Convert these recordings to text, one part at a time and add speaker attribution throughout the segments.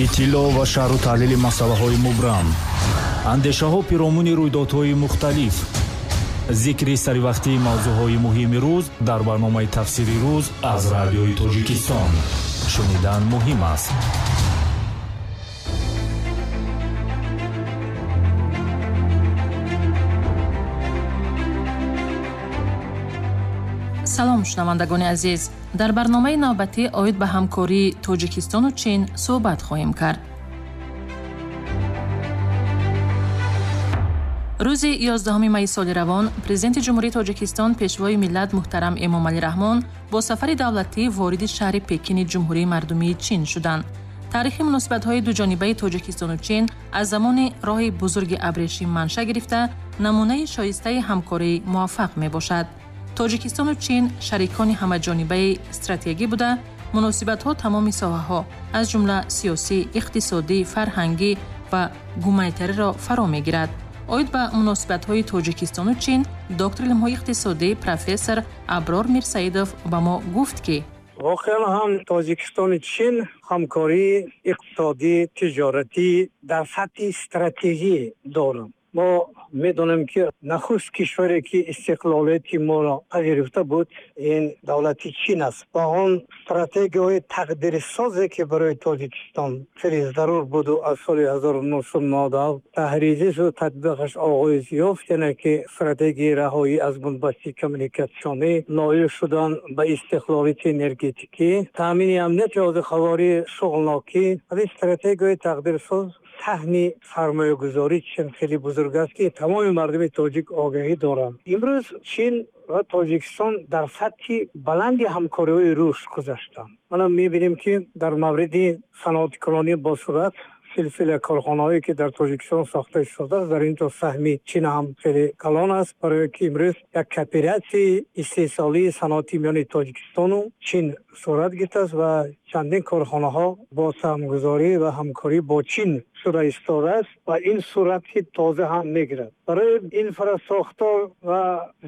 Speaker 1: Иттилоъ ва шарҳу таҳлили масъалаҳои мубрам, андешаҳо пиромуни рӯйдодҳои мухталиф, зикри саривақтии мавзӯъҳои муҳими рӯз дар барномаи «Тафсири рӯз» аз Радиои Тоҷикистон. Шунидан муҳим аст.
Speaker 2: Салом, шунавандагони азиз. Дар барномаи навбатӣ оид ба ҳамкории Тоҷикистону Чин суҳбат хоҳем кард. Рӯзи 11 майи соли равон Президенти Ҷумҳурии Тоҷикистон, Пешвои миллат муҳтарам Эмомалӣ Раҳмон бо сафари давлатӣ вориди шаҳри Пекини Ҷумҳурии Мардумии Чин шуданд. Таърихи муносибатҳои дуҷонибаи Тоҷикистону Чин аз замони роҳи бузурги абрешим манша гирифта, намунаи шоистаи ҳамкории муваффақ мебошад. Тоҷикистону Чин шарикони ҳамаҷонибаи стратегӣ буда, муносибатҳо тамоми соҳаҳо, аз ҷумла сиёсӣ, иқтисодӣ, фарҳангӣ ва гуманитариро фаро мегирад. Оид ба муносибатҳои Тоҷикистону Чин доктори илмҳои иқтисодӣ, профессор Аброр Мирсаидов ба мо гуфт, ки
Speaker 3: воқеан ҳам Тоҷикистону Чин ҳамкории иқтисодӣ, тиҷоратӣ дар сатҳи стратегӣ доранд. Мо медонем, ки нахуст кишваре, ки истиқлолияти моро пазируфта буд, ин давлати Чин аст ва он стратегияҳои тақдирсозе, ки барои Тоҷикистон хеле зарур буду аз соли 1997 таҳризишу татбиқаш оғоз ёфт, яъне ки стратегияи раҳоӣ аз бунбасти коммуникатсионӣ, ноил шудан ба истиқлолияти энергетикӣ, таъмини амнияти озуқаворӣ, шуғлнокӣ, аз ин стратегияҳои тақдирсоз саҳми сармоягузории Чин хеле бузург аст, ки тамоми мардуми тоҷик огаҳӣ доранд. Имрӯз Чин ва Тоҷикистон дар сатҳи баланди ҳамкориҳои рушд гузаштанд. Мана мебинем, ки дар мавриди саноаткунонӣ бо суръат силсила корхонаҳое, ки дар Тоҷикистон сохта шудааст, дар ин ҷо саҳми Чин ҳам хеле калон аст, барое ки имрӯз як кооператсияи истеҳсолии саноатӣ миёни Тоҷикистону Чин сурат гирифтааст ва чандин корхонаҳо бо саҳмгузорӣ ва ҳамкорӣ бо Чин шуда истодааст ва ин суръати тоза ҳам мегирад. Барои инфрасохтор ва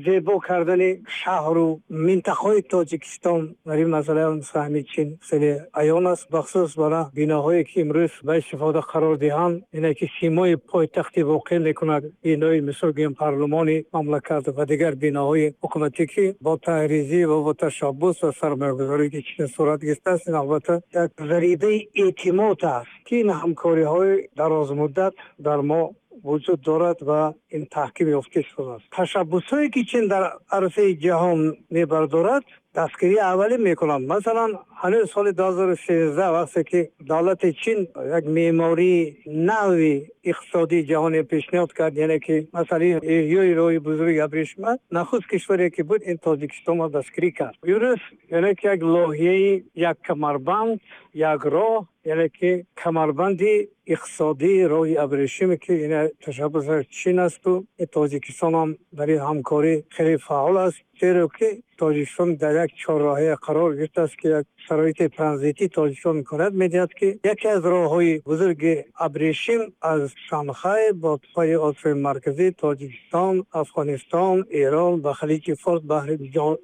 Speaker 3: зебо кардани шаҳру минтақаҳои Тоҷикистон дар ин масъала ҳам саҳми Чин хеле аён аст, бахусус барои биноҳое, ки имрӯз ба истифода қарор диҳанд, ине ки симои пойтахти воқеъ мекунад, бинои мисол гӯем парлумони мамлакат ва дигар биноҳои ҳукуматӣ, ки бо таҳризӣ ва бо ташаббус ва сармоягузорӣ, ки Чин сурат гирифтааст, ин албатта як зарибаи эътимод аст, ки ин ҳамкориҳои дарозмуддат дар мо вуҷуд дорад ва ин таҳким ёфта шудааст. Ташаббусҳое, ки Чин дар арсаи ҷаҳон мебардорад, дастгирии аввалӣ мекунанд. Масалан, ҳанӯз соли 2013, вақте ки давлати Чин як меъмории нави иқтисодии ҷаҳоне пешниҳод кард, яъне ки масъалаи эҳёи роҳи бузурги абрешима, нахуст кишваре, ки буд, ин Тоҷикистонро дастгирӣ кард. Имрӯз яъне ки як лоиҳаи як камарбанд як роҳ, яъне ки камарбанди иқтисодии роҳи абрешиме, ки ин ташаббуси Чин асту Тоҷикистон ҳам дар ин ҳамкорӣ хеле фаъол аст, зеро ки Тоҷикистон дар як чорроҳая қарор гирифтааст, ки як шароити транзитӣ Тоҷикистон имконият медиҳад, ки яке аз роҳҳои бузурги абрешим аз Шанхай бо пайи Осиёи Марказӣ, Тоҷикистон, Афғонистон, Эрон ба Халиҷи Форс, баҳри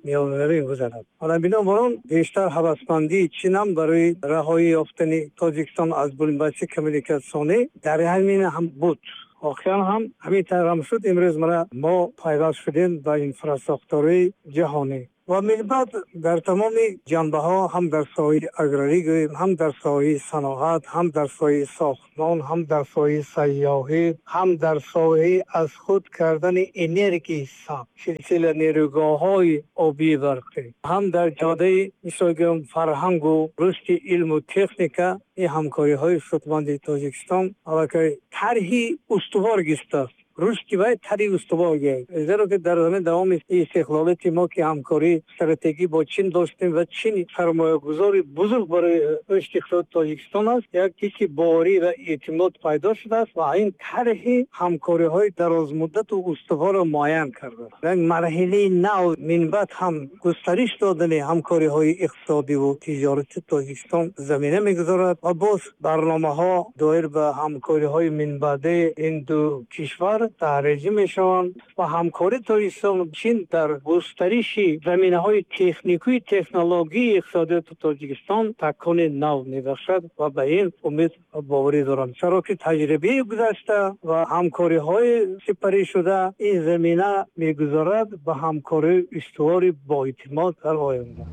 Speaker 3: Миёназамин гузарад. Ҳоло бинобар он бештар ҳавасмандии Чин ҳам барои раҳоӣ ёфтани Тоҷикистон аз бунбасти коммуникатсионӣ дар ҳамин ҳам буд. Воқеан ҳам ҳамин тавр ҳам шуд. Имрӯз мана мо пайваст шудем ба инфрасохторҳои ҷаҳонӣ ва минбаъд дар тамоми ҷанбаҳо, ҳам дар соҳаи аграрӣ гӯем, ҳам дар соҳаи саноат, ҳам дар соҳаи сохтмон, ҳам дар соҳаи сайёҳӣ, ҳам дар соҳаи аз худ кардани энергияи сабз, силсила нерӯгоҳҳои обии барқӣ, ҳам дар ҷодаи мисол гӯем фарҳангу рушди илму техника, ин ҳамкориҳои судманди Тоҷикистон аллакай тарҳи устувор гирифтааст. Рушди вай тарҳи устувор гирифт, зеро ки дар замин давоми истиқлолияти мо, ки ҳамкории стратегӣ бо Чин доштем ва Чин сармоягузори бузург барои рушди иқтисоди Тоҷикистон аст, як ҳисси боварӣ ва эътимод пайдо шудааст ва ин тарҳи ҳамкориҳои дарозмуддату устуворро муайян кардааст. Як марҳилаи нав минбаъд ҳам густариш додани ҳамкориҳои иқтисодиву тиҷорати Тоҷикистон замина мегузорад ва боз барномаҳо доир ба ҳамкориҳои минбаъдаи ин ду кишвар таҳризӣ мешаванд ва ҳамкории Тоҷикистон Чин дар густариши заминаҳои техникию технологии иқтисодиёти Тоҷикистон такони нав мебахшад ва ба ин умед боварӣ дорам, чаро ки таҷрибаи гузашта ва ҳамкориҳои сипарӣ шуда ин замина мегузорад ба ҳамкории устувори боэътимод дар оянда.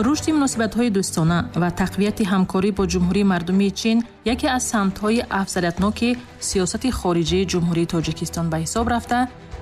Speaker 2: Рушди муносибатҳои дӯстона ва тақвияти ҳамкорӣ бо Ҷумҳурии Мардумии Чин яке аз самтҳои афзалиятноки сиёсати хориҷии Ҷумҳурии Тоҷикистон ба ҳисоб рафта,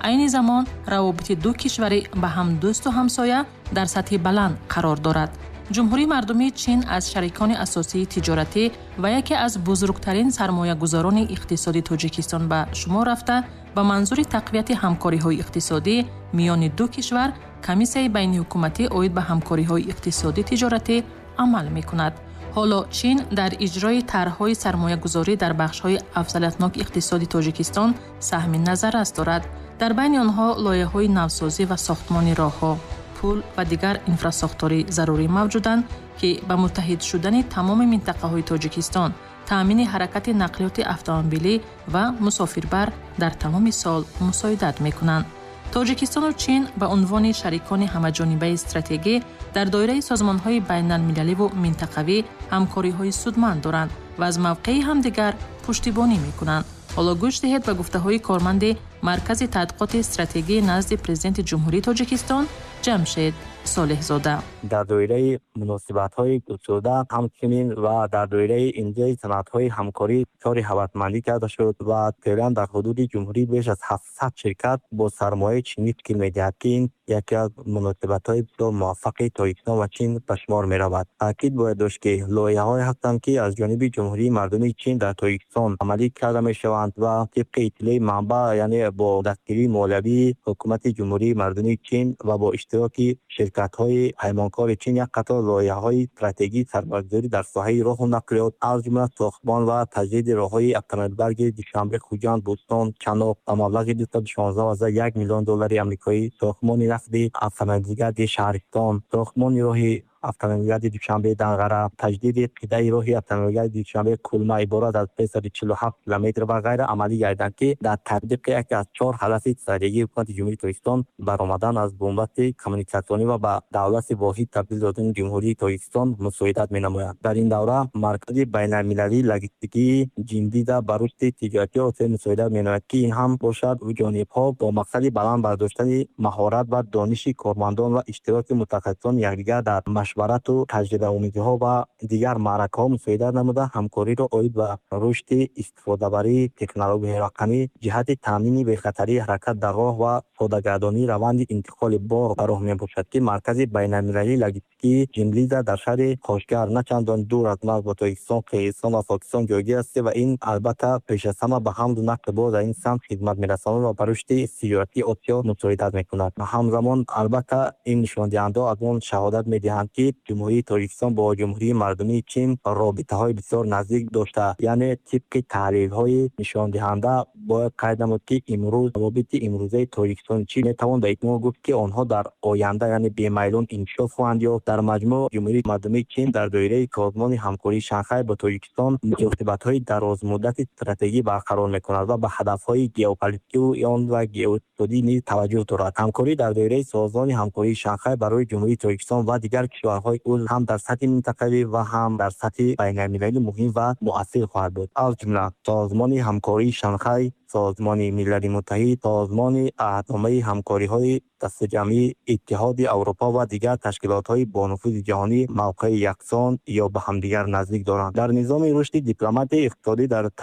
Speaker 2: айни замон равобити ду кишвари ба ҳам дӯсту ҳамсоя дар сатҳи баланд қарор дорад. Ҷумҳурии Мардумии Чин аз шарикони асосии тиҷоратӣ ва яке аз бузургтарин сармоягузорони иқтисоди Тоҷикистон ба шумор рафта, ба манзури тақвияти ҳамкориҳои иқтисодӣ миёни ду кишвар Комиссияи байниҳукуматӣ оид ба ҳамкориҳои иқтисодӣ тиҷоратӣ амал мекунад. Ҳоло Чин дар иҷрои тарҳҳои сармоягузорӣ дар бахшҳои афзалиятноки иқтисоди Тоҷикистон саҳми назаррас дорад. Дар байни онҳо лоиҳаҳои навсозӣ ва сохтмони роҳҳо, пул ва дигар инфрасохторӣ зарурӣ мавҷуданд, ки ба муттаҳид шудани тамоми минтақаҳои Тоҷикистон, таъмини ҳаракати нақлиёти автомобилӣ ва мусофирбар дар тамоми сол мусоидат мекунанд. Тоҷикистону Чин ба унвони шарикони ҳамаҷонибаи стратегӣ дар доираи созмонҳои байналмилаливу минтақавӣ ҳамкориҳои судманд доранд ва аз мавқеи ҳамдигар пуштибонӣ мекунанд. Ҳоло гӯш диҳед ба гуфтаҳои корманди Маркази тадқиқоти стратегӣ назди Президенти Ҷумҳурии Тоҷикистон Ҷамшед Солеҳзода.
Speaker 4: Дар доираи муносибатҳои густурда ҳамчунин ва дар доираи имзои санадҳои ҳамкорӣ кори ҳавасмандӣ карда шуд ва феълан дар ҳудуди ҷумҳурӣ беш аз 700 ширкат бо сармояи чинӣ ташкил медиҳад, ки ин яке аз муносибатҳои бисёр муваффақи Тоҷикистон ва Чин ба шумор меравад. Таъкид бояд дошт, ки лоиҳаҳое ҳастанд, ки аз ҷониби Ҷумҳурии Мардумии Чин дар Тоҷикистон амалӣ карда мешаванд ва тибқи иттилои манбаъ, яъне бо дастгирии молиявии ҳукумати Ҷумҳурии Мардумии Чин ва бо иштироки ширкатҳои паймонкори Чин як қатор лоиҳаҳои стратегии сармоягузорӣ дар соҳаи роҳу нақлиёт, аз ҷумла сохтмон ва таҷдиди роҳҳои автомобилбарги Душанбе, Хуҷанд, Бӯстон, Чаноқ ба маблағи 216,1 миллион доллари амрикоӣ, сохтмони насби автомобилгарди Шаҳристон, сохтмони роҳи автомобилгарди Душанбе Данғара, таҷдиди қитъаи роҳи автомобилгарди Душанбе Кулма иборат аз 347 километр ва ғайра амалӣ гардиданд, ки дар татбиқи яке аз чор ҳадафи стратегии ҳукумати Ҷумҳурии Тоҷикистон, баромадан аз бунбасти коммуникатсионӣ ва ба давлати воҳид табдил додани Ҷумҳурии Тоҷикистон мусоидат менамояд. Дар ин давра Маркази байналмилалии логистикии Ҷиндида ба рушди тиҷоратии Осиё мусоидат менамояд, ки ин ҳам бошад ҷонибҳо бо мақсади баланд бардоштани маҳорат ва дониши кормандон ва иштироки мутахассисони якдигар дар машварату таҷрибаомезиҳо ва дигар маъракаҳо мусоидат намуда, ҳамкориро оид ба рушди истифодабарии технологияҳои рақамӣ ҷиҳати таъмини бехатарии ҳаракат дар роҳ ва содагардонии раванди интиқоли бор ба роҳ мебошад, ки Маркази байналмилалии логистикии Ҷинлиза дар шаҳри Қошгар на чандон дур аз марз бо Тоҷикистон, Қирғизистон ва Покистон ҷойгир аст ва ин албатта пеш аз ҳама ба ҳамлу нақли бор дар ин самт хидмат мерасонад ва ба рушди тиҷоратии Осиё мусоидат мекунад. Ҳамзамон албатта ин нишондиҳандаҳо аз он шаҳодат медиҳанд, ки Ҷумҳурии Тоҷикистон бо Ҷумҳурии Мардумии Чин робитаҳои бисёр наздик дошта, яъне тибқи таҳлилҳои нишондиҳанда бояд қайд намуд, ки имрӯз равобити имрӯзаи Тоҷикистону Чин метавон ба итмом гуфт, ки онҳо дар оянда, яъне бемайлон инкишоф хоҳанд ёфт. Дар маҷмӯъ Ҷумҳурии Мардумии Чин дар доираи Созмони ҳамкории Шанхай бо Тоҷикистон муносибатҳои дарозмуддати стратегӣ барқарор мекунад ва ба ҳадафҳои геополитикию он ва геоиқтисодӣ низ таваҷҷӯҳ дорад. Ҳамкорӣ дар доираи Созмони ҳамкории Шанхай барои Ҷумҳурии Тоҷикистон ва дигар кишварҳои узв ҳам дар сатҳи минтақавӣ ва ҳам дар сатҳи байналмилалӣ муҳим ва муассир хоҳад буд. Аз ҷумла Созмони ҳамкории Шанхай, Созмони Милали Муттаҳид, Созмони Аҳдномаи ҳамкориҳои дастаҷамъии Иттиҳоди Аврупо ва дигар ташкилотҳои бонуфузи ҷаҳонӣ мавқеи яксон ё ба ҳамдигар наздик доранд. Дар низоми рушди дипломатияи иқтисодӣ дар